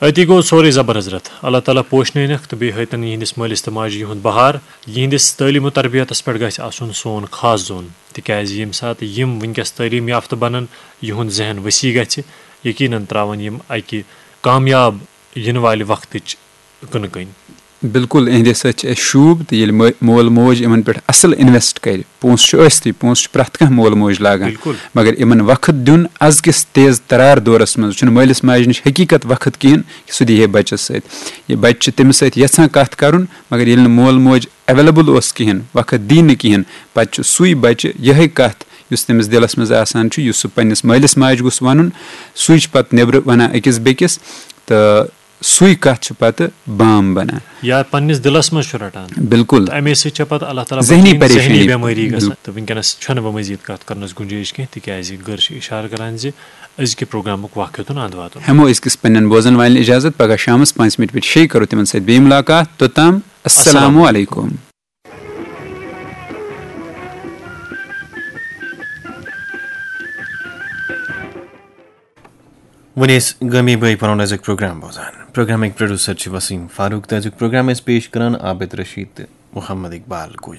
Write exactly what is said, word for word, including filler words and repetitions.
أتی گوٚو سورُے زبر حضرت۔ اللہ تعالیٰ پوشنٲینَکھ تہٕ بیٚیہِ ہٲیتَن یِہِنٛدِس مٲلِس تہٕ ماجہِ یِہُنٛد بہار۔ یِہِنٛدِس تعلیٖم و تربیتَس پٮ۪ٹھ گژھِ آسُن سون خاص زون، تِکیٛازِ ییٚمہِ ساتہٕ یِم وٕنکیٚس تعلیٖم یافتہٕ بَنَن، یِہُنٛد ذہن وسیع گژھِ، یقیناً ترٛاوَن یِم اَکہِ کامیاب یِنہٕ والہِ وقتٕچ کٕنہٕ کٔنۍ۔ بِلکُل، اِہِنٛدِ سۭتۍ چھِ اَسہِ شوٗب، تہٕ ییٚلہِ مٲ- مول موج یِمَن پٮ۪ٹھ اَصٕل اِنویسٹ کَرِ، پونٛسہٕ چھُ ٲستٕے، پونٛسہٕ چھُ پرٛٮ۪تھ کانٛہہ مول موج لاگان، بِلکُل۔ مگر یِمَن وقت دیُن أزکِس تیز ترار دورَس منٛز چھُنہٕ مٲلِس ماجہِ نِش حقیٖقت وقت کِہیٖنۍ کہِ سُہ دی ہے بَچَس سۭتۍ۔ یہِ بَچہِ چھُ تٔمِس سۭتۍ یَژھان کَتھ کَرُن، مگر ییٚلہِ نہٕ مول موج ایویلیبل اوس کِہیٖنۍ، وقت دی نہٕ کِہیٖنۍ، پَتہٕ چھُ سُے بَچہِ یِہے کَتھ یُس تٔمِس دِلَس منٛز آسان چھُ، یُس سُہ پنٛنِس مٲلِس ماجہِ گوٚژھ وَنُن، سُے چھُ پَتہٕ نیٚبرٕ وَنان أکِس بیٚکِس، تہٕ سُے کَتھ چھِ پَتہٕ بام بَنان۔ یا پننِس دِلس منٛز چھُ رٹان۔ بِلکُل۔ تہٕ امے سۭتۍ چھےٚ پتہٕ اللہ تعالیٰ ذہنی بچٲیِن ذہنی پریشٲنی۔ بٮ۪مٲری گژھان۔ بِلکُل۔ تہٕ وٕنکیٚنس چھنہٕ وۄنۍ مزید کتھ کرنس گُنجٲیِش کینٛہہ، تِکیازِ گٔر چھِ اشارٕ کران زِ أزکہِ پروگرامُک وقت ہیوٚتُن اند واتُن۔ ہٮ۪مو أزکِس پننٮ۪ن بوزن والٮ۪ن اجازت، پگاہ شامس پانٛژِ مِنٹہِ پٮ۪ٹھ شیٚیہِ کرو تِمن سۭتۍ بیٚیہِ مُلاقات۔ توٚتام السلام علیکم۔ وۄنۍ ٲسۍ گٲمی بٲے پنُن أزیُک پروگرام بوزان۔ پروگرامٕکۍ پروڈیوسر چھِ وسیٖم فاروق تہٕ أزیُک پروگرام ٲسۍ پیش کران عابد رشید تہٕ محمد اقبال گوجر۔